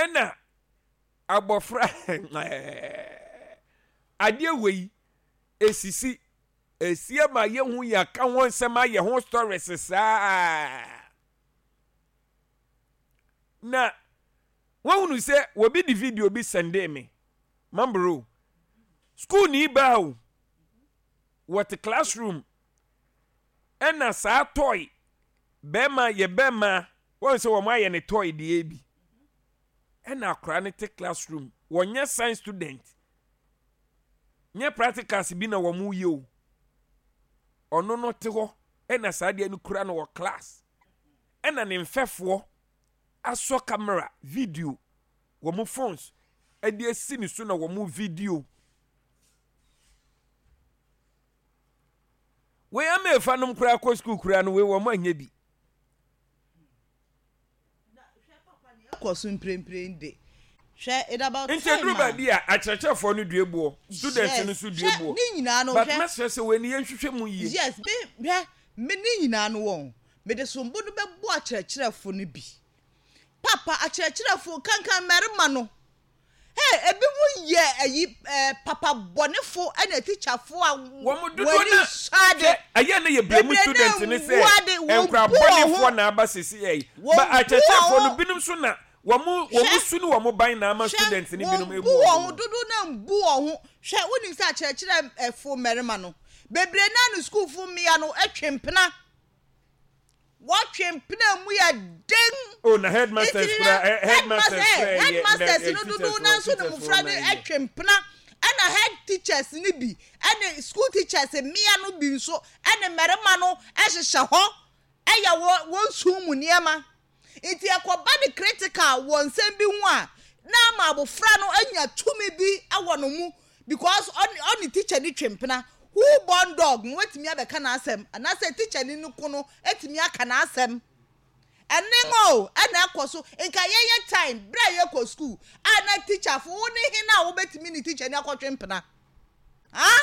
Ɛna abɔfra adeɛ wei esisi esi ama yɛhu yɛaka ho nsɛm ayɛ ho stories saa na wɔhunu sɛ wɔbi de video bi sɛndee me mambro school ni baa o wɔte classroom ɛna saa toy bɛrima yɛ bɛrima wɔn sɛ wɔn ayɛ ne toy deɛ bi ɛna akwaraa no te classroom wɔnyɛ science student nyɛ practicals bi na wɔn yɛ o ɔno no te hɔ ɛna saa deɛ no kura no wɔ class ɛna ne mfɛfoɔ asɔ camera video wɔn phones ɛde asi ne so na wɔn video wei ama efa nom koraa kɔ sukuu koraa no wei wɔn anyɛ bi. Ɛkɔ so mprempren de. Hwɛ, it about Nti time ɛduru a. baabi a akyerɛkyerɛfoɔ no due boɔ, students no Yes, nso due hwɛ, boɔ. ne nyinaa no, But hwɛ. mɛsrɛ sɛ wei no yɛnhwehwɛ mu yie. Yes, me, hwɛ, me ne nyinaa no wɔn, mede sombo no bɛbɔ akyerɛkyerɛfo no bi. Papa, akyerɛkyerɛfo, kankan mmarima no, Hey, ebinom yɛ ayi ɛɛ eh, papa bɔnefo ɛna tikyafo a wɔn dodoɔ na hwɛ ɛyɛ ne yɛ blame student ne sɛ nkura bɔnefoɔ na aba sisi yɛ yi ba akyerɛkyerɛfoɔ no binom so na wɔn wɔn su ne wɔn ban na ama student ne binom ebu wɔn ho dodo na mbu wɔn ho hwɛ wonim sɛ akyerɛkyerɛfo mmarima no bebree naa ne sukuufo mmea no atwe mpena. Wɔtwe mpena mu yɛ den. Oh, na headmasters kura headmasters kura yɛ headmasters no dodow na nso ne mmofra no twe mpena ɛna head teachers no bi ɛne school teachers mmea no bi nso ɛne mmarima no ɛhyehyɛ hɔ ɛyɛ wɔn wɔn sum mu nneɛma nti ɛkɔba ne critical wɔ nsɛm bi ho a na ama abofra no anya tumi bi ɛwɔ no mu Because ɔne ɔne teacher ni twe mpena. Who born dog no watumi abɛka n'asɛm anaasɛ teacher ni no ko no atumi aka n'asɛm. Ɛne o ɛna ɛkɔ so. Nka yɛyɛ time berɛ a yɛkɔ school a na teacher fo wo ne hena a wobɛtumi ne teacher ni akɔtwe mpena? Ha?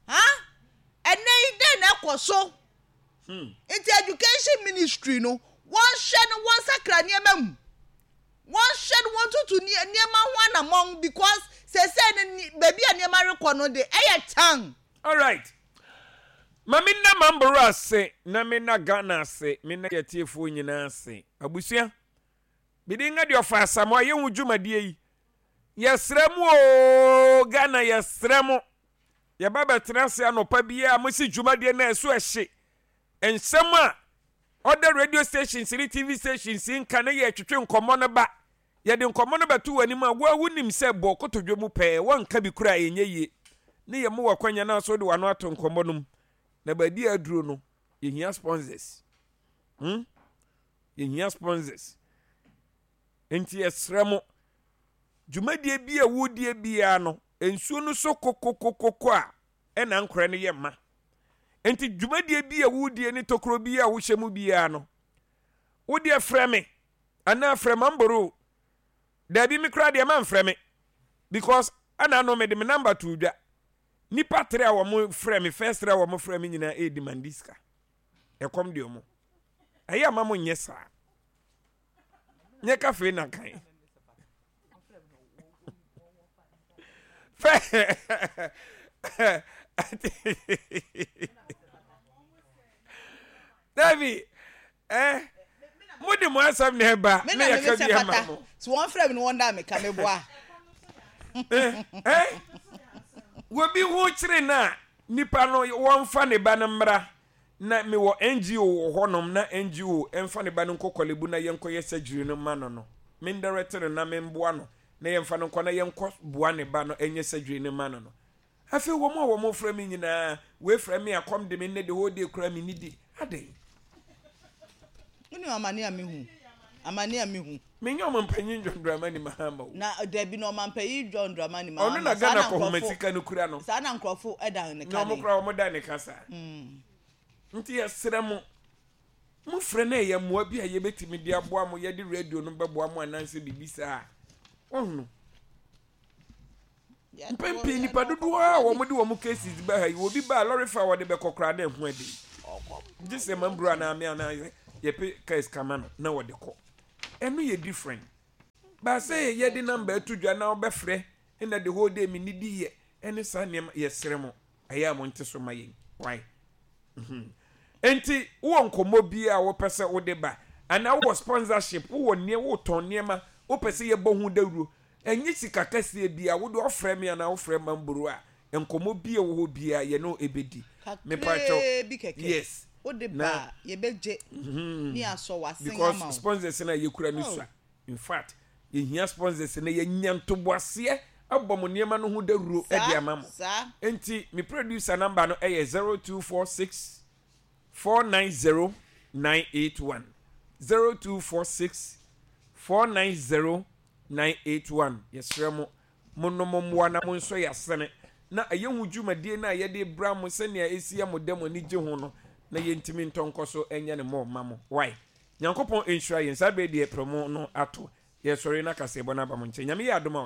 Ha? Ɛnɛ yi dɛn na ɛkɔ so? Nti education ministry no wɔnhwɛ no wɔnsakra nneɛma mu. Wɔnhwɛ no wɔntutu nneɛma ho anamɔn because seesei no baabi a nneɛma rekɔ no de ɛyɛ tan. Alright. Ma me nna Mamboro ase na me nna Ghana ase, me nna yɛtiefoɔ nyinaa ase. Abusua, me din de Ɔfa Asamoah, yɛhu dwumadie yi. Yɛsrɛ mo oo, Ghana yɛsrɛ mo. Yɛba bɛtena ase anɔpa biara mo si dwumadie no a ɛso ɛhye. Nsɛm a Ɔda radio stations ne TV stations nka na yɛretwetwe nkɔmmɔ no ba. Yɛde nkɔmmɔ no bɛto w'anim a, wo ara wunim sɛ bɔ kotodwe mu pɛɛ, woanka bi koraa a ɛnyɛ yie. Ne yɛma wo akwanya na nso wode w'ano ato nkɔmmɔ no mu. Na baabi a aduro no, yɛhia sponsors. Hmm? Yɛhia sponsors. Nti yɛsrɛ mo, dwumadie bi a wodie biara no, nsuo no so kokokokoko a, ɛna nkorɛ no yɛ ma. Nti dwumadie bi a wodie ne tokuro bi a wohyɛ mu biara no, wodeɛ frɛ me anaa frɛ Mamboro. Daabi me koraa deɛ mamfrɛ me because ɛna no mede me number too dwa. Nipa tere a wɔn frɛ me first tere a wɔn frɛ me nyinaa ɛredi mandi sika. Ɛkɔm deɛ wɔn. Ɛyɛ ama mo nyɛ saa. Nyɛ kafe na kan. Fɛ Dabi, eh, mo de mo asɛm na ɛba na yɛka bi ama mo. So wɔn frɛ mi no wɔn da mi ka mi boa. Eh, eh, wɔbi ho kyere na nipa no wɔnfa ne ba no mmra na mewɔ NGO wɔ hɔnom na NGO mfa ne ba no nkɔ Korle Bu na yɛnkɔyɛ surgery no mma no no, mendirect no na memboa no na yɛmfa no nkɔ na yɛnkɔ boa ne ba no nyɛ surgery no mma no no. Afei wɔn a wɔfrɛ me nyinaa, wei frɛ me a kɔm de me nnɛ the whole day koraa mennidi. Adɛn? Wonim amane a mehu? Amane a mehu. Menyɛ ɔmampanyin John Dramani Mahama o. Na dabi na ɔmampanyin John Dramani Mahama. Ɔno na Ghana kɔhoma sika no kura no. Saa na nkurɔfo dan ne ka. Na wɔn koraa wɔn dan ne ka saa. Nti yɛsrɛ mo, mo frɛ na ɛyɛ mmoa bi a yɛbɛtumi de aboa mo, yɛde radio no bɛboa mo anaasɛ biribi saa a, wɔhunu. Mpɛn pii nnipa dodoɔ a wɔde wɔn cases ba ha yi, obi ba a lɔre fa a wɔde bɛkɔ koraa na ɛho ɛden. Gye sɛ mamburu anaa me anaa yɛpɛ case kama no na wɔde kɔ. Ɛno yɛ different. Baasɛ yɛde number ato dwa na wobɛfrɛ na the whole day menidi yɛ ɛne saa nneɛma, yɛsrɛ mo, ɛyɛ a monte so ma yɛn. Why? Enti wowɔ nkɔmmɔ bi a wopɛ sɛ wode ba anaa wowɔ sponsorship, wowɔ nneɛ wotɔn nneɛma wopɛ sɛ yɛbɔ ho dawuro, ɛnyɛ sika kɛseɛ biara, wode ɔfrɛ me anaa wofrɛ Mamboro a, nkɔmmɔ bi a ɛwɔ hɔ biara yɛne wo ɛbɛdi. Mepakyɛw, Kakraa bi kɛkɛ yes, wode na ba a yɛbɛgye ne yɛasɔ w'asen because ama wo. sponsors no a yɛkura no Oh. sua. In fact, yɛhia sponsors na yɛanya ntoboaseɛ abɔ mo nneɛma no ho dawuro de Saa, ama mo. saa. Enti me producer number no yɛ 0246 490 981. 0246 490 981. Yɛsrɛ mo, monnom mmoa na monsɔ yɛn asene na ɛyɛ ho dwumadie no a yɛde bra mo sɛnea ɛsi yɛ mo dɛ mo ani gye ho no na yɛntumi ntɔ nkɔ so nyɛ no more mma mo. Wai? Nyankopɔn nhyira yɛn. Saa berɛ yi deɛ prɛmo no ato. Yɛsɔre na kaseɛbɔ no aba mo nkyɛn. Nyame yɛ adom a.